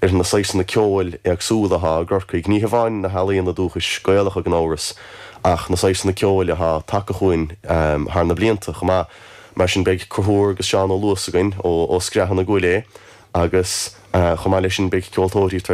Ar na saghsanna ceoil éagsúla atá i gCorcaigh, ní hamháin na healaíona dúchais Gaelacha gan amhras, ach na saghsanna ceoil atá tagtha chugainn thar na blianta chomh maith. Mar sin beidh Conchúr agus Seán Ó Luasa againn ó Screathan na gCuail agus chomh maith leis sin beidh ceoltóirí tar.